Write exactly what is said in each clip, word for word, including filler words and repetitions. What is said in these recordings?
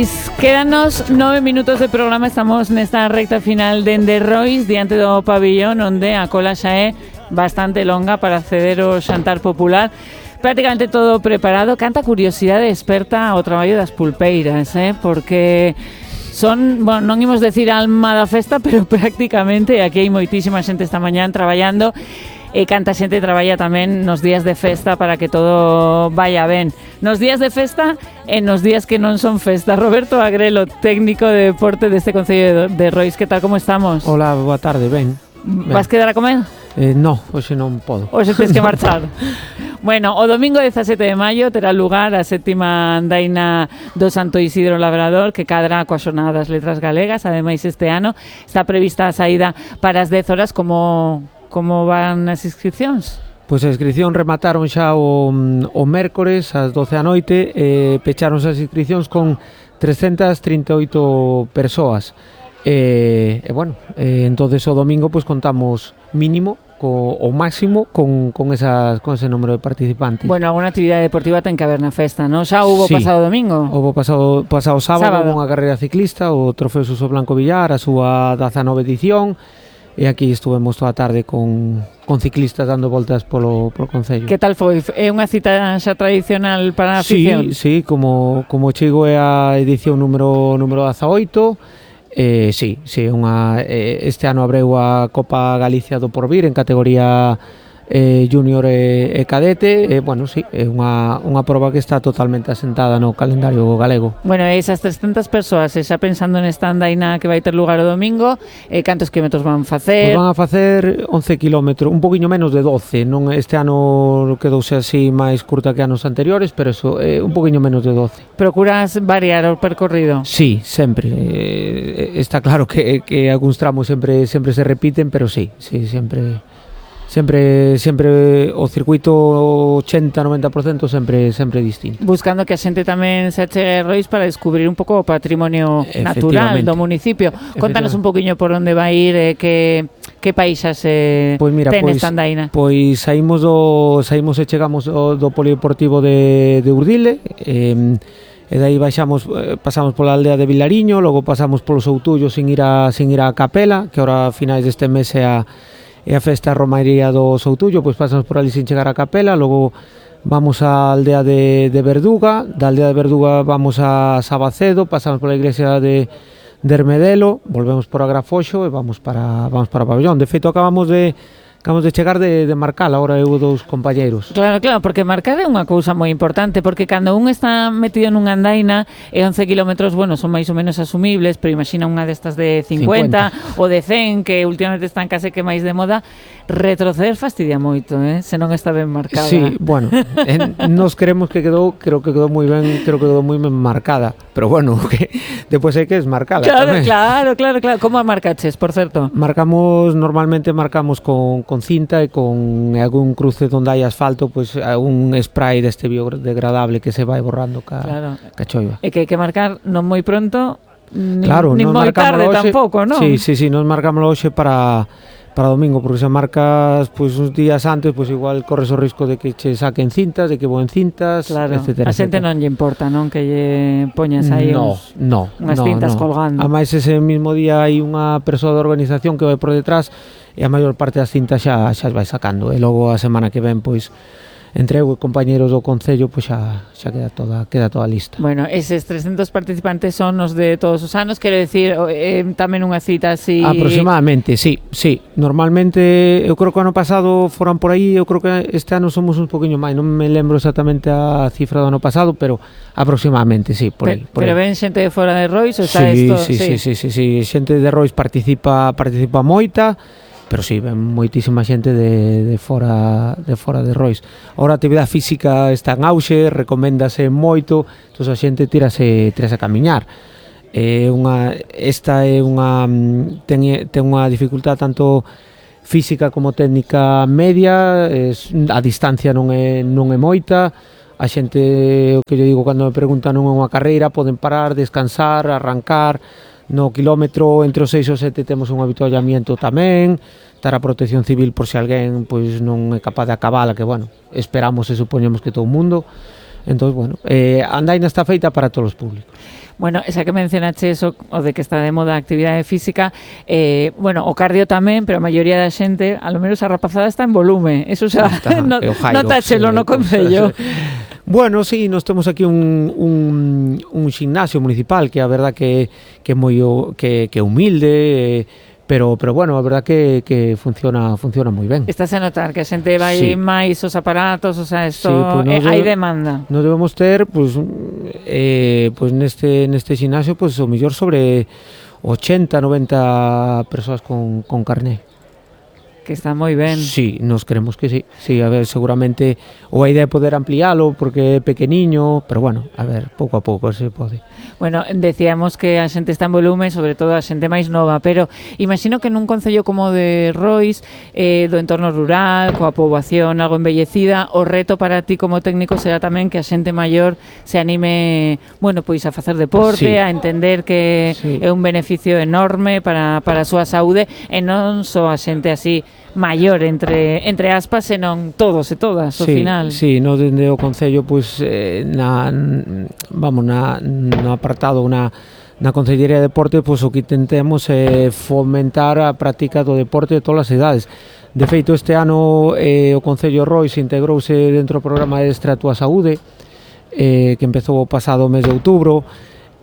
Pois quédanos nove minutos de programa. Estamos nesta recta final de Enderrois, diante do pabillón, onde a cola xa é bastante longa para acceder ao xantar popular. Prácticamente todo preparado. Canta curiosidade experta o traballo das pulpeiras, eh? Porque son, bueno, non imos decir alma da festa, pero prácticamente aquí hai moitísima xente esta mañán traballando. E canta xente traballa tamén nos días de festa para que todo vaya ben. Nos días de festa e nos días que non son festa. Roberto Agrelo, técnico de deporte deste Concello de Rois, que tal, como estamos? Hola, boa tarde, ben. Vas quedar a comer? Eh, no, hoxe non podo. Hoxe tens que marchar. Bueno, o domingo dezasete de maio terá lugar a sétima andaina do Santo Isidro Labrador, que cadra coa xornada das letras galegas. Ademais, este ano está prevista a saída para as dez horas. Como... Como van as inscripcións? Pois a inscripción remataron xa o, o mércores ás doce da noite e pecharon as inscripcións con trescentas trinta e oito persoas. E, e bueno, e, entonces o domingo pois contamos mínimo co, o máximo con, con, esas, con ese número de participantes. Bueno, alguna actividade deportiva ten que haber na festa, non? Xa hubo sí, pasado domingo? Houve pasado, pasado sábado, sábado. Unha carreira ciclista, o Trofeo Suso Blanco Villar, a súa dezanove edición. E aquí estuvemos toda a tarde con, con ciclistas dando voltas polo, polo Concello. Que tal foi? É unha cita xa tradicional para a afición? Sí, sí, como, como chego é a edición número, número dezaoito. Eh, sí, sí, unha, eh, este ano abreu a Copa Galicia do Porvir en categoría eh, junior e, e cadete. E, bueno, sí, é unha, unha proba que está totalmente asentada no calendario galego. Bueno, esas trescentas persoas, xa pensando nesta andaina que vai ter lugar o domingo, eh, cantos quilómetros van facer? Pues van a facer once quilómetros, un poquinho menos de doce. Non, este ano quedouse así máis curta que anos anteriores, pero eso, eh, un poquinho menos de doce. Procuras variar o percorrido? Sí, sempre. Eh, está claro que, que algúns tramos sempre, sempre se repiten, pero sí, sí, sempre... Sempre, sempre o circuito ochenta a noventa por cento sempre sempre distinto. Buscando que a xente tamén se achegue a Rois para descubrir un pouco o patrimonio natural do municipio. Contanos un poquinho por onde vai ir, eh, que que paísas eh, pues mira, ten pois, esta andaina. Pois saímos do saímos e chegamos do, do polideportivo de, de Urdile, eh, e dai baixamos, pasamos pola aldea de Vilariño, logo pasamos polo Soutullo sin ir a sin ir a Capela, que ahora a finais deste mes é a e a festa romaría do Soutullo, pois pasamos por ali sin chegar a Capela, logo vamos á aldea de, de Verduga, da aldea de Verduga vamos a Sabacedo, pasamos pola iglesia de, de Hermedelo, volvemos por Agrafoxo e vamos para vamos para o pabellón. De feito, acabamos de Acabamos de chegar de, de Marcal, agora eu dous compañeiros. Claro, claro, porque Marcal é unha cousa moi importante, porque cando un está metido nunha andaina e once kilómetros, bueno, son máis ou menos asumibles, pero imagina unha destas de cincuenta, cincuenta ou de cen, que últimamente están case que máis de moda, retroceder fastidia moito, eh? Se non está ben marcada. Sí, bueno, en, nos queremos que quedou, creo que quedou moi ben, creo que quedou moi ben marcada, pero bueno, que depois hai que desmarcala claro, tamén. Claro, claro, claro. Como a marcaches, por certo? Marcamos, normalmente marcamos con con cinta e con algún cruce onde hai asfalto, pois pues, un spray deste biodegradable que se vai borrando ca, claro. ca choiva. E que hai que marcar non moi pronto, nin, claro, nin moi tarde hoxe, tampouco, non? Sí, sí, sí, nos marcamos hoxe para para domingo, porque se marcas pois uns días antes, pois igual corres o risco de que che saquen cintas, de que voen cintas, claro. etcétera. A xente non lle importa, non? Que lle poñas aí no, uns, no, unhas no, cintas no. colgando. Ademais, ese mismo día hai unha persoa da organización que vai por detrás e a maior parte das cintas xa, xa as vai sacando. E logo a semana que ven, pois, entre eu e compañeros do Concello, pois xa, xa queda toda queda toda lista. Bueno, eses trescentos participantes son os de todos os anos, quero decir, eh, tamén unha cita así... Aproximadamente, sí, sí. Normalmente, eu creo que o ano pasado foran por aí, eu creo que este ano somos un poquinho máis, non me lembro exactamente a cifra do ano pasado, pero aproximadamente, sí, por aí. Pero, pero ven xente de fora de Rois, ou está sí, esto... Sí, sí, sí, sí, sí, xente de Rois participa participa moita, pero sí, ven moitísima xente de, de fora de fora de Rois. Ahora a actividade física está en auxe, recoméndase moito, entón a xente tírase, tírase a camiñar. É unha, esta é unha ten, ten unha dificultad tanto física como técnica media, es, a distancia non é, non é moita, a xente, o que eu digo cando me preguntan non é unha carreira, poden parar, descansar, arrancar. No quilómetro entre os seis e os sete temos un avituallamiento tamén, estar a protección civil por se alguén pois non é capaz de acabala, que bueno, esperamos e supoñemos que todo o mundo. Entón, bueno, eh, a andaina está feita para todos os públicos. Bueno, esa que mencionaste eso, o de que está de moda a actividade física, eh, bueno, o cardio tamén, pero a maioría da xente, a lo menos a rapazada está en volume. Eso xa, no, notáchelo no concello. Bueno, sí, nós temos aquí un, un, un gimnasio municipal que a verdad que que moi que que humilde, eh, pero pero bueno, a verdad que que funciona funciona moi ben. Estás a notar que a xente vai sí. máis os aparatos, o sea, isto sí, pues eh, hai demanda. Nós debemos ter pues eh pues neste neste gimnasio pues o mellor sobre ochenta, noventa persoas con con carné. Que está moi ben. Sí, nos creemos que sí. Sí, a ver, seguramente ou a idea é poder ampliálo porque é pequeniño, pero bueno, a ver, pouco a pouco se pode. Bueno, decíamos que a xente está en volume, sobre todo a xente máis nova, pero imagino que nun concello como de Rois, eh, do entorno rural, coa poboación algo envellecida, o reto para ti como técnico será tamén que a xente maior se anime, bueno, pois a facer deporte, sí. a entender que sí. é un beneficio enorme para, para a súa saúde, e non só a xente así maior entre entre aspas, senón todos e todas, ao sí, final. Sí, no dende o concello pois eh, na vamos na no apartado na na Consellería de Deporte, pois o que intentemos é fomentar a práctica do deporte de todas as idades. De feito, este ano eh, o Concello Rois integrouse dentro do programa Extra a túa saúde, eh, que empezou o pasado mes de outubro.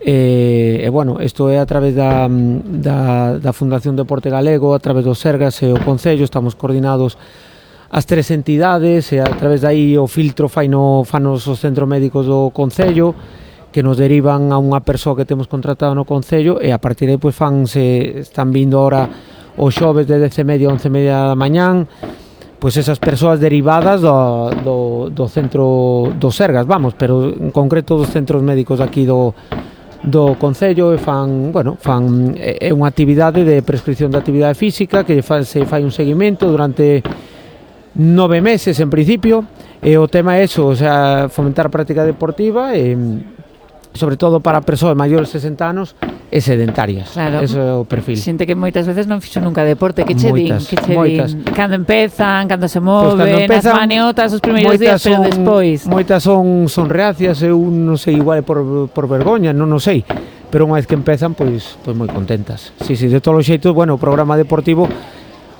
E, e bueno, isto é a través da, da, da Fundación Deporte Galego, a través dos Sergas e o Concello, estamos coordinados as tres entidades, e a través dai o filtro faino, fanos os centros médicos do Concello, que nos derivan a unha persoa que temos contratado no Concello, e a partir de aí pois fanse, están vindo ahora os xoves de dez e media a once e media da mañán, pois esas persoas derivadas do, do, do centro dos Sergas, vamos, pero en concreto dos centros médicos aquí do do Concello, e fan, bueno, fan é unha actividade de prescripción de actividade física que fa, se fai un seguimento durante nove meses en principio, e o tema é eso, o sea, fomentar a práctica deportiva e sobre todo para persoas maiores de sesenta anos e sedentarias. Claro. Ese é o perfil. Xente que moitas veces non fixo nunca deporte, que che din, que che moitas. din, cando empezan, cando se moven, pues empezan, as maniotas os primeiros días, pero despois. Moitas son son reacias, eu non sei, igual por por vergoña, non o sei, pero unha vez que empezan, pois pois moi contentas. Si, si, de todos os xeitos, bueno, o programa deportivo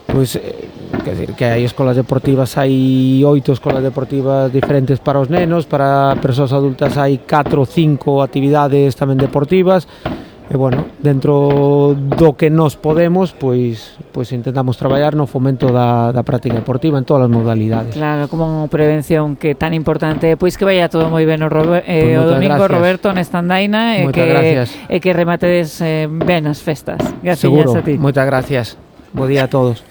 pois eh, quer dizer, que hai escolas deportivas, hai oito escolas deportivas diferentes para os nenos, para persoas adultas hai catro ou cinco actividades tamén deportivas. E bueno, dentro do que nos podemos, pois pois intentamos traballar no fomento da, da práctica deportiva en todas as modalidades. Claro, como prevención que tan importante. Pois que vaya todo moi ben o, Robert, eh, pues o domingo, gracias. Roberto, nesta andaina, e que, e que rematedes eh, ben as festas. Gracias. Seguro, a ti. moitas gracias. Bo día a todos.